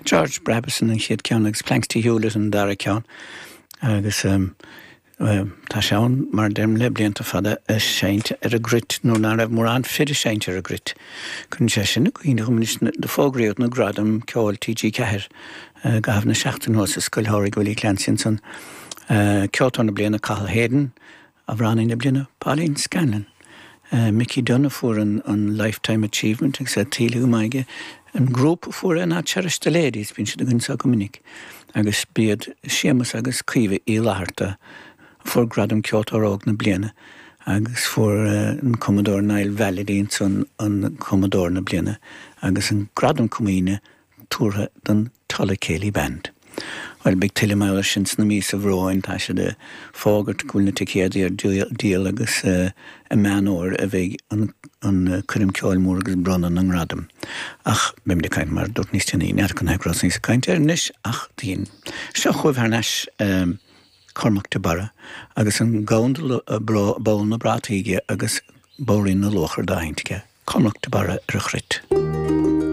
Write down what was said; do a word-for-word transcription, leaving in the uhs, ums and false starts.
George Brabazon an chéad ceann agus Planxty Hewlett an dara ceann agus um, tá sé ann mar deirim le blianta fada ag seinnt ar an gcruit nó ná raibh mórán fir ag seinnt ar an gcruit. Chun sé sin go do fógraíodh na gradaim ceoil TG Ceathair gahah na seachtain thuas i Scoil Phádraig Willie Clancy san ceoltóir na bliana Cathal Hayden amhránaí na bliana Pauline Scanlon. Uh, Mickey Dunne fuair an, an Lifetime Achievement agus é tuillte go maith aige. An grúpa fuair ná Cherish the Ladies bíonn siad againn go minic. agus b'iad Séamus agus Caoimhe Uí Fhlatharta fuair gradam ceoltóir óg na bliana agus fuair uh, an cumadóir Niall Vallely an an cumadóir na bliana agus an gradam comaoine tabhartha don Tulla Céilí Band. Well beidh tuilleadh mar sin sna míosa romhainn tá sé de fógairt go bhfuil na ticéadaí ar díol agus uh, i Meán Fómhair a bheidh an, an coirm ceoil mór agus bronnadh na ngradam. Ach beimid ag caint mar dúirt níos déanaí neart chun heicrás níos caint ar anois ach daon. Seo chugaibh thar n-ais um, Cormac de Barra agus an gabhann bonn na brataí aige agus bodhairín na luachar dá sheinnt aige. Cormac de Barra ar a chruit.